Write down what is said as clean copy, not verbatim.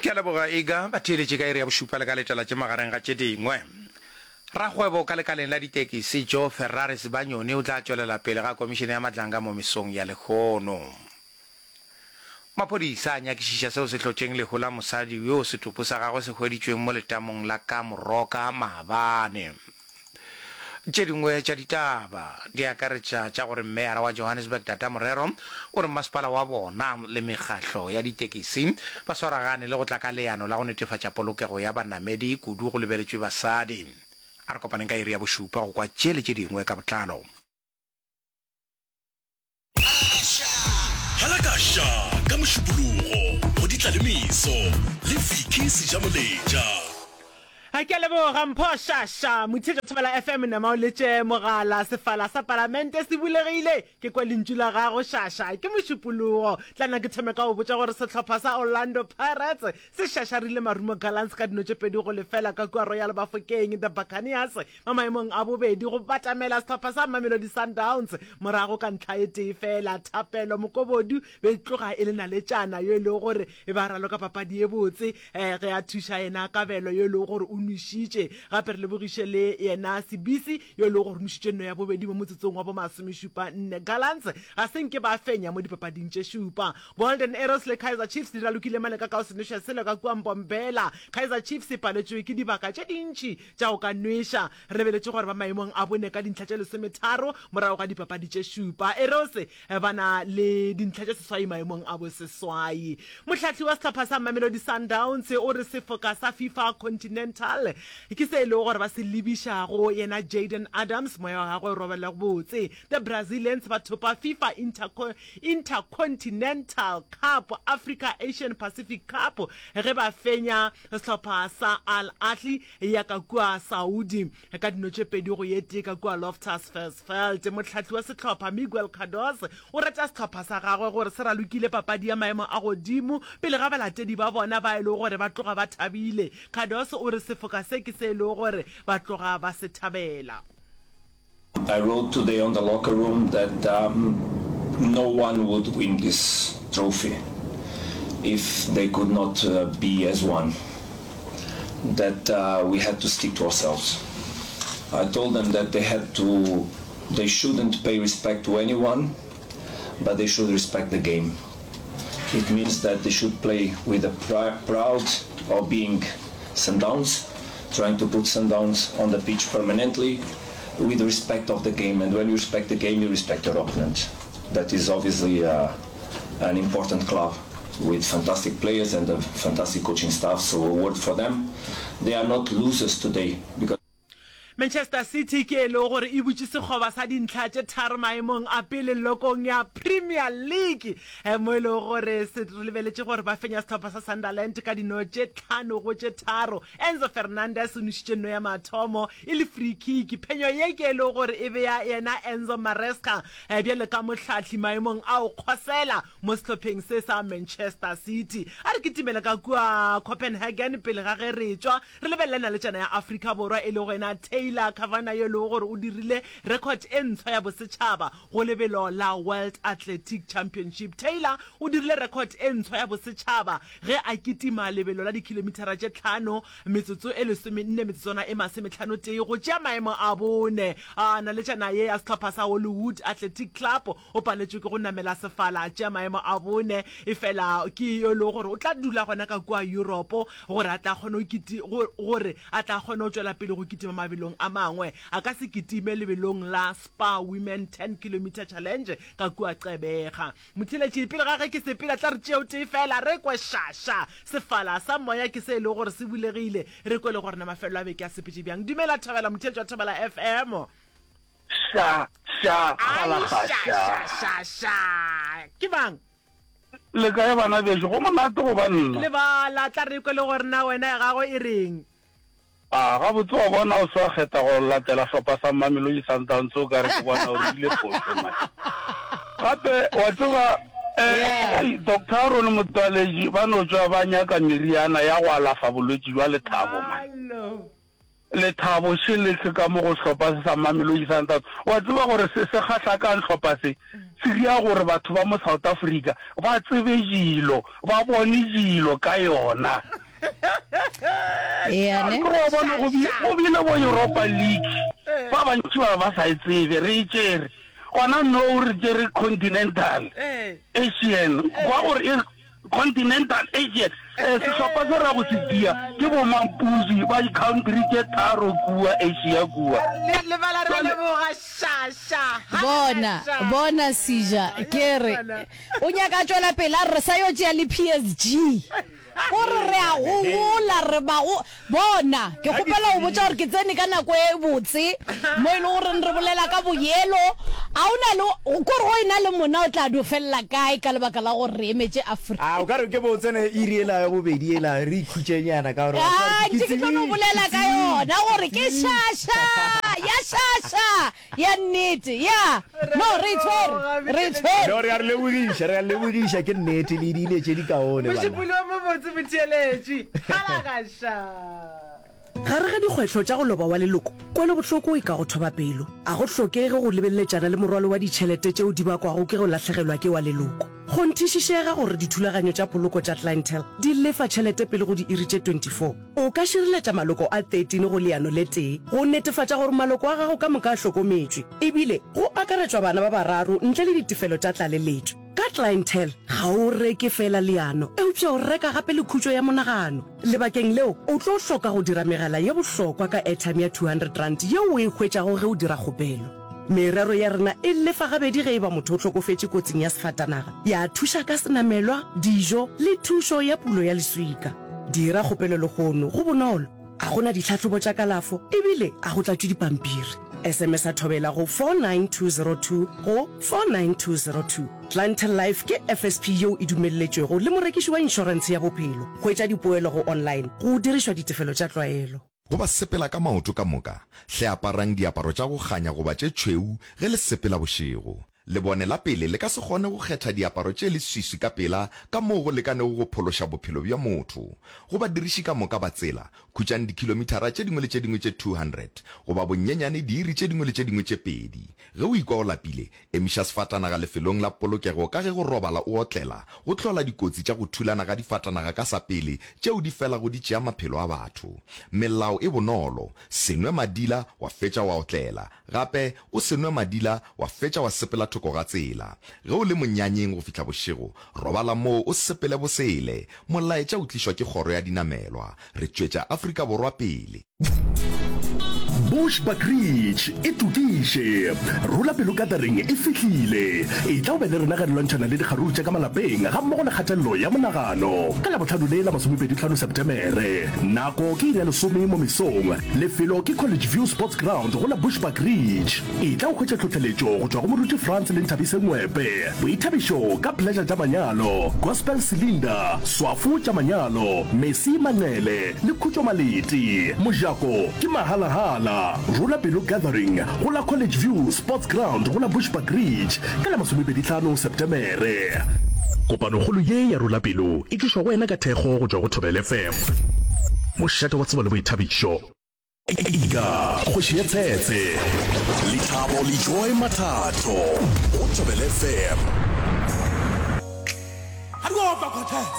Ke a leboga Iga, batheeletši ka iri ya bošupa le ka letela tše magareng ga tše dingwe. Rakgwebo ka lekaleng la ditekisi Joe Ferrari Sibanyoni o tla tšwelela pele ga komišene ya Madlanga mo mesong ya lehono. Maphodisa a nyakišiša seo se hlotšeng lehu la mosadi yo setopo sa gagwe se hweditšweng mo letamong la ka Moroka maabane. Tše dingwe tša ditaba di akaretša tša gore Meyara wa Johannesburg Tata Morero o re masepala wa bona le mekgahlo ya ditekisi ba swaragane le go tla ka leano la go netefatša polokego ya banamedi kudu go lebeletšwe basadi. A re kopaneng ka iri ya bošupa go kwa tše le tše dingwe ka botlalo. Halakaša ka Mošupologo go Ditlalemeso le Vicky Sejamoletša. Ke a leboga Mpho Shasha. Motheetša Thobela FM nama o letše mogala. Sefala sa Palamente se bulegile. Ke kwa lentšu la gago Shasha. Ke Mošupologo. Tla nna ke thome ka go botša gore sehlopha sa Orlando Pirates se šašarile Marumo Gallants ka dino tše 2-0 ka kua Royal Bafokeng. The Buccaneers Ba maemong a bobedi go batamela sehlopha sa Mamelodi Sundowns morago ka ntlha e tee fela. Thapelo Mokobodu be e tloga e le naletšana yo e lego gore e ba raloka papadi ye botse ge a thuša yena Kabelo yo e lego gore o nwešitše. Gape re lebogiše le yena Sibisi yo e lego gore o nwešitše nno ya bobedi mo motsotsong wa bo masomešupa nne. Gallants ga se nke ba fenya mo dipapading tše šupa. Golden Arrows le Kaizer Chiefs di ralokile mane ka ka o se nweša selo ka kua Mbombela. Kaizer Chiefs e paletšwe ke dibaka tše dintši tša go ka nweša. Re lebeletše gore ba maemong a bone ka dintlha tše lesometharo morago ga dipapadi tše šupa. Arrows ba na le dintlha tše seswai maemong a boseswai. Mohlahli wa sehlopha sa Mamelodi Sundowns o re sefoka sa FIFA Continental ke se e lego gore ba se lebiša go yena Jayden Adams, moya wa gagwe o robale botse. The Brazilians ba thopa FIFA Intercontinental Cup, Africa Asian Pacific Cup ge ba fenya sehlopha sa Al Ahly ya ka kua Saudi ka dino tše 2 go ye tee ka kua Loftus Versfeld. Mohlahli wa sehlopha Miguel Cardoso o reta sehlopha sa gagwe gore se ralokile papadi ya maemo a godimo pele ga balatedi ba bona ba e lego gore ba tloga ba thabile. Cardoso o re sefoka se ke se e lego gore ba tloga ba se thabela. I wrote today on the locker room that um, no one would win this trophy if they could not uh, be as one. That uh, we had to stick to ourselves. I told them that they had to, they shouldn't pay respect to anyone, but they should respect the game. It means that they should play with a pr proud of being Sundowns, trying to put Sundowns on the pitch permanently with respect of the game. And when you respect the game, you respect your opponent. That is obviously uh, an important club with fantastic players and a fantastic coaching staff. So a word for them. They are not losers today because Manchester City ke e lego gore e butše sekgoba sa dintlha tše tharo maemong a pele lokong ya Premier League mo e lego gore se re lebeletše gore ba fenya sehlopha sa Sunderland ka dino tše 5 go tše tharo. Enzo Fernandez o nošitše nno ya mathomo e le free kick. Phenyo ye ke e lego gore e bea yena Enzo Maresca bjalo ka mohlahli maemong a go kgosela mo sehlopheng se sa Manchester City. A re kitimele ka kua Copenhagen pele ga ge re tšwa Re lebelele naletšana ya Afrika Borwa e lego yena Taylor Kavanagh yo e lego gore o dirile record e ntshwa ya bosetšhaba go lebelo la World Athletic Championship. Taylor o dirile record e ntshwa ya bosetšhaba ge a kitima lebelo la dikhilomithara tše tlhano metsotso e lesomenne metsotswana e masometlhanotee go tšea maemo a bone. A Naletšana ye ya sehlopha sa Hollywood Athletic Club o paletšwe ke go namela sefala a tšea maemo a bone efela ke yo e lego gore o tla dula gona ka kua Europe gore a tla kgone go gore a tla kgone go tšwela pele go kitima mabelong a mangwe. A ka se kitime lebelong la Spar Women 10 Kilometre Challenge ka kua Gqeberha. Motheeletši, pele ga ge ke sepela, tla re tšee o tee fela re kwe šaša. Sefala sa moya ke se e lego gore se bulegile. Re kwe le gore na mafelelo a beke a sepetše bjang. Dumela Thobela, motheeletši wa Thobela FM. Ša, ša, galaga, ša. Ša, ša, ša. Ke mang? Le kae bana bešo? Go monate go ba nna. Lebala, tla re kwe le gore na wena ya gago e reng. A, gabotse wa bona o se wa kgetha go latela hlopha sa Mamelodi Sundowns o ka re ke bona o dirile phošo man. Gape wa tseba eh, Doctor Aaron Motsoaledi ba no tšwa ba nyaka meriana ya go alafa bolwetši bja lethabo man. Lethabo še le se ka mo go sehlopha se sa Mamelodi Sundowns. Wa tseba gore se se kgahla ka'ng hlopha se? Se ria gore batho ba mo South Africa ba tsebe dilo, ba bone dilo ka yona. Ea ne? Ke wa bona go bi- go bile bo Europa League ba bantši ba ba sa e tsebe re e tšere gona no re tšere Continental Asian kwa gore e Continental Asian eh, sehlopha se ra go se dia ke bo Mampuzi ba di-country tše tharo kua Asia kua. Le lebala re leboga sha sha. Bona, bona Sija, ke re o nyaka a tšwela pele a re re sa yo tšea le PSG. Gore re a gogola, re ba go. Bona, ke kgopela go botša gore ke tsene ka nako e botse mo e le goreng re bolela ka boyelo. A o na le, kore go ena le mona o tla dio felela kae ka lebaka la gore re emetše Afrika? A o ka re ke bo tsene iri ela ya bobedi ela re ikhutšenyana ka gore wa tseba Ah, gore ke ntše ke tlo no tsebile, bolela ke ka tsebile, yona gore ke šaša, ya šaša. Ya nnete, ya. No, re e tshwere, re e tshwere. No, re a re lebogiša, re a lebogiša, ke nnete, le diile tše dikaone, bana. Mošupologo o mobotse motheeletši. Halagaša. Gare ga dikgwetlho tša go loba wa leloko, kwelobohloko e ka go thoba pelo. A go hlokege go lebeleletšana le morwalo wa ditšhelete tšeo di bakwago ke go lahlegelwa ke wa leloko. Kgonthišišega gore dithulaganyo tša poloko tša Clientele di lefa tšhelete pele go diiri tše 24. O ka šireletša maloko a 13 go leano le tee go netefatša gore maloko a gago ka moka a hlokometšwe, ebile go akaretšwa bana ba bararo ntle le ditefelo tša tlaleletšo. Ka Clientele, ga o reke feela leano, eupša o reka gape le khutšo ya monagano. Lebakeng leo, o tlo hloka go dira megala ye bohlokwa ka airtime ya R200 yeo o e hwetšago ge o dira kgopelo. Merero ya rena e lefa gabedi ge e ba motho o hlokofetše kotsing ya sefatanaga, ya thuša ka senamelwa, dijo le thušo ya pulo ya leswika. Dira kgopelo lehono, go bonolo, ga go na ditlhahlobo tša kalafo ebile ga go tlatšwe dipampiri. SMS-a Thobela go 49202 go 49202. Clientele Life ke FSP yeo e dumelletšwego le morekiši wa inšorentshe ya bophelo. Hwetša dipoelo go online go dirišwa ditefelo tša tlwaelo. Go ba sepela ka maoto ka moka, hle aparang diaparo tša go kganya goba tše tšhweu ge le sepela bošego. Lebone la pele le ka se kgone go kgetha diaparo tše leswiswi ka pela ka moo go lekanego go phološa bophelo bja motho. Go badiriši ka moka ba tsela, khutšang dikhilomithara tše dingwe le tše dingwe tše 200 goba bonyenyane diiri tše dingwe le tše dingwe tše pedi. Ge o ikwa o lapile, Emiša sefatanaga lefelong la polokego ka ge go robala o otlela go hlola dikotsi tša go thulana ga difatanaga ka sa pele tšeo di felago di tšea maphelo a batho. Melao e bonolo, se nwe madila wa fetša wa otlela, gape o se nwe madila wa fetša wa sepela thoko ga tsela. Ge o le monyanyeng go fihla bošego, robala moo o sepele bosele. Molaetša o tlišwa ke Kgoro ya Dinamelwa. Re tšwetša Afrika Borwa pele. Bushbuckridge e tokiše. Rola pelo gathering e fihlile. Etla o be le rena ge re lwantšhana le dikgaruru tša ka malapeng gammogo le kgatelelo ya monagano. Ka Labohlano le la masomepedihlano Setemere. Nako ke iri ya lesome mo mesong. Lefelo ke College View Sports Ground go la Bushbuckridge. Etla o hwetše tlhohleletšo go tšwa go Moruti Frans le Nthabise Ngwepe. Boithabišo ka Pleasure tša manyalo, Gospel Cylinder, Swafo tša manyalo, Mercy Manqele le Khutšo Maleti. Mojako ke mahalahala. Rola Pelo Gathering go la College View Sports Ground go la Bushbuckridge ka la masomepedihlano Setemere. Kopanokgolo ye ya Rola Pelo e tlišwa go wena ka thekgo go tšwa go Thobela FM, mošate wa tsebo le boithabišo. Ika, kgoši ya tshetse. Lethabo le Joy Mathatho go Thobela FM.